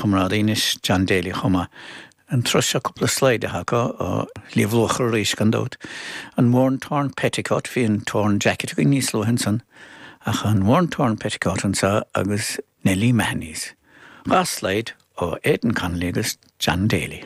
chomrádaí anois, John Daly chomh maith. An turas seo cúpla slide atá acu ó Shliabh Luachra arís gan dabht. An Worn Torn Petticoat, bhí an Torn Jacket againn níos luaithe ansan, ach an Worn Torn Petticoat anseo agus Nellie Mahoney's. 2 slide ó Aidan Connolly agus John Daly.